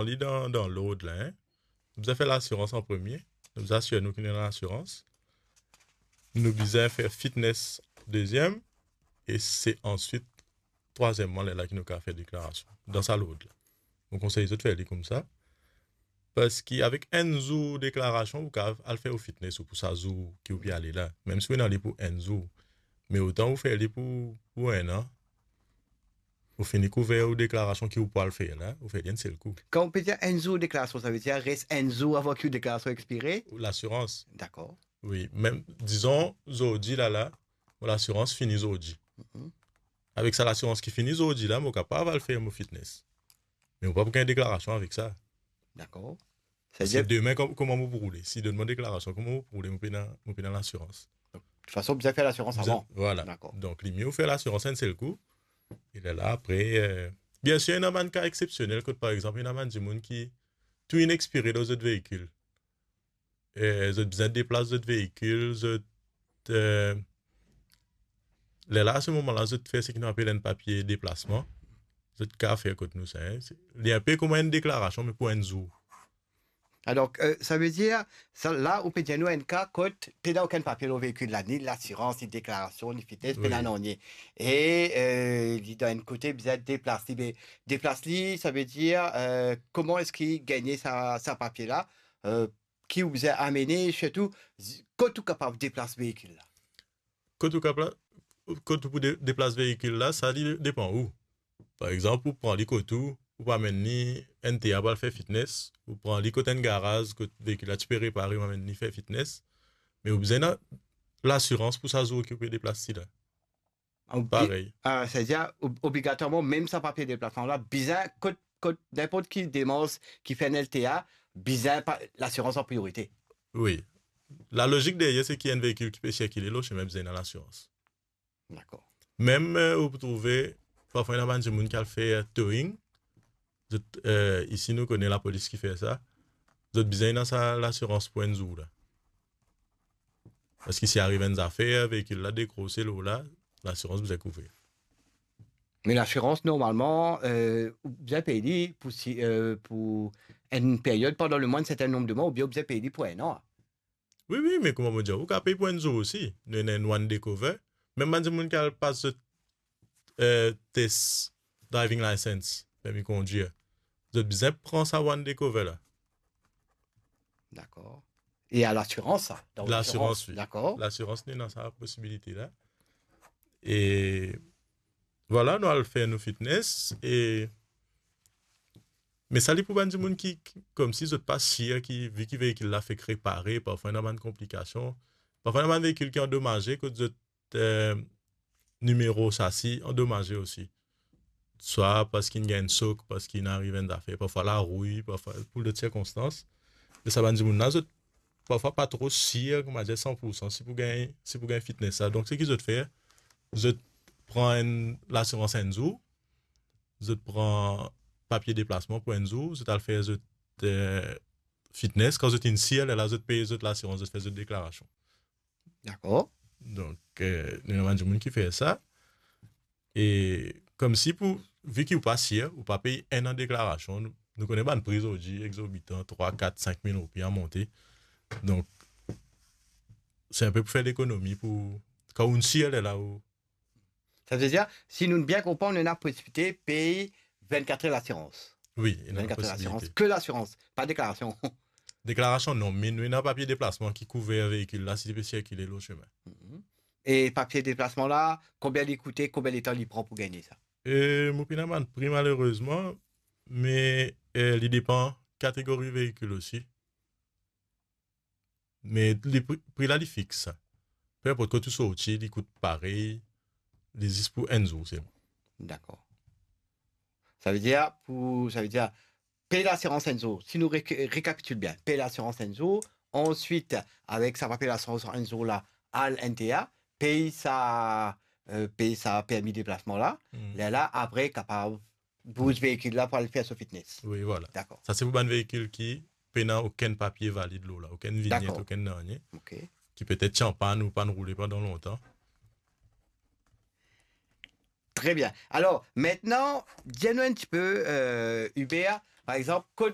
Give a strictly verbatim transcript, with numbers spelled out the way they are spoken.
Pran li dan, dan lord la, hein. Nou bizin fer lasirans an premie. Nou bizin asir nou ki nou ena lasirans. Nou bizin fer fitness deziem. E se answit, trwaziem mwa, lerla ki nou kapav fer deklarasion. Dan sa lord la. Mo konsey zot fer li koumsa. Parski avek enn zour deklarasion, ou kapav al fer ou fitness ou pou sa zour ki ou pe ale la. Mem si ou ena li pou enn zour. Me otan ou fer li pou, pou enn an, ou fini kouver ou deklarasion ki ou pou al fer la, ou fer li enn sel kou. Kan ou pe dir enn zour deklarasion, savedir res enn zour avan ki ou deklarasion ekspire? Ou lasirans. Dakor. Wi, mem, dizon, zordi la, la, mo lasirans fini zordi. Mhm. Avek sa lasirans ki fini zordi la, mo kapav al fer mo fitness. Me mo pa pou gagn deklarasion avek sa. Dakor. Parski demin, kom-, kouma mo pou roule? Si donn mwa deklarasion, kouma mo pou roule? Mo pena, mo pena lasirans. Donk, de tout fason, bizin fer lasirans avan. Vwala. Dakor. Donk, li mie ou fer lasirans enn sel kou. E lerla, apre, eh, biensir, ena bann ka exepsionel kot, par exanp, ena bann dimoun ki tou inn ekspire dan zot veikil. Eh, zot bizin deplas zot veikil, zot, eh, lerla, a se moman la, zot fer seki nou apel enn papie deplasman. Zot kapav fer kot nou sa, hein. Se, li enpe kouma enn deklarasion, me pou enn zour. Alor, eh, savedir, sa la, ou pe dir nou enn ka kot pena okenn papie lor veikil la, ni lasirans, ni deklarasion, ni fitness, pena nanye. E, eh, li dan enn kote bizin deplas li, me deplas li, savedir, eh, kouma eski gagne sa, sa papie la? Eh, ki ou bizin amene, sirtou, zi-, kot ou kapav deplas veikil la? Kot ou kapla-, kot ou pou de-, deplas veikil la, sa li depan ou. Par exanp, ou pran li kot ou, ou pou amenn li enn tea pou al fer fitness, ou pran li kot enn garaz, kot veikil la ti pe repare, ou amenn li fer fitness, me ou bizin ena lasirans pou sa zour ki ou pe deplas li la. Obli-, parey. Ah, savedir, ob-, obligatwarman, mem sa papie deplasman la, bizin kot, kot ninport ki demars ki fer enn L T A, bizin pa-, lasirans an priorite. Wi. Lalozik deryer, se ki enn veikil ki pe sirkile lor sime bizin ena lasirans. Dakor. Mem, eh, ou pou trouve, parfwa, ena bann dimoun ki al fer towing, zot, eh, isi nou kone lapolis ki fer sa. Zot bizin ena sa lasirans pou enn zour la. Parski si ariv enn zafer, veikil la dekrose lor la, lasirans bizin kouver. Me lasirans, normalman, eh, ou bizin pey li pou si, eh, pou enn peryod pandan lemwin enn sertin nonb de mwa, oubien ou bizin pey li pou enn an. Wi, wi, me kouma mo dir, ou kapav pey pou enn zour osi. Nou ena enn one day cover. Mem bann dimoun ki al pas zot, eh, tes driving license, permi kondwir, zot bizin pran sa one day cover la. Dakor. E a lasirans, sa, dan lasirans, wi. Dakor. Lasirans, li ena sa posibilite la. E vwala, nou al fer nou fitness e, me sa li pou bann dimoun ki, ki, koumsi zot pa sir ki, vi ki veikil la fek repare, parfwa ena bann konplikasion, parfwa ena bann veikil ki andomaze, kot zot, eh, nimero sasi andomaze osi. Swa parski inn gagn enn sok, parski inn ariv enn zafer, parfwa larouy, parfwa pou lot sirkonstans. E sa bann dimoun la, zot parfwa pa tro sir, kouma dir, san pou san si pou gagn, si pou gagn fitness la. Donk, seki zot fer, zot pran enn lasirans enn zour, zot pran papie deplasman pou enn zour, zot al fer zot, eh, fitness. Kan zot inn sir, lerla zot pey zot lasirans, zot fer zot deklarasion. Dakor. Donk, eh, nou ena bann dimoun ki fer sa. E koumsi pou, vi ki ou pa sir, ou pa pey enn an deklarasion. Nou, nou kone bann pri zordi egzorbitan, trwa, kat, sink mil roupi a monte. Donk, se enpe pou fer lekonomi pou, kan ou sir, lerla ou... Savedir, si nou bien konpran, nou ena posibilite pey vennkat er lasirans. Wi, ena posibilite. Vennkat er lasirans, ke lasirans, pa deklarasion. Deklarasion non, me nou ena papie deplasman ki kouver veikil la si li pe sirkile lor sime. Mhm. E papie deplasman la, konbien li koute, konbien letan li pran pou gagne sa? E mo pena bann pri, malerezman, me, eh, li depan kategori veikil osi. Me li pri, pri la, li fix sa. Pe inport kot ou sorti, li kout parey, li zis pou enn zour selman. Dakor. Savedir, pou, savedir, pey lasirans enn zour. Si nou re-, rekapitil bien, pey lasirans enn zour, answit, avek sa papie lasirans enn zour la, al N T A, pey sa, eh, pey sa permi deplasman la, hmm, lerla, apre, kapav bouz veikil la pou al fer so fitness. Wi, vwala. Dakor. Sa se pou bann veikil ki pena okenn papie valid lor la, okenn vinyet, dakor, okenn nanye. Ok. Ki petet ti an pann ou pann roule pandan lontan. Tre bien. Alor, mintnan, dir nou enn tipe, eh, Hubert, Par exanp, kot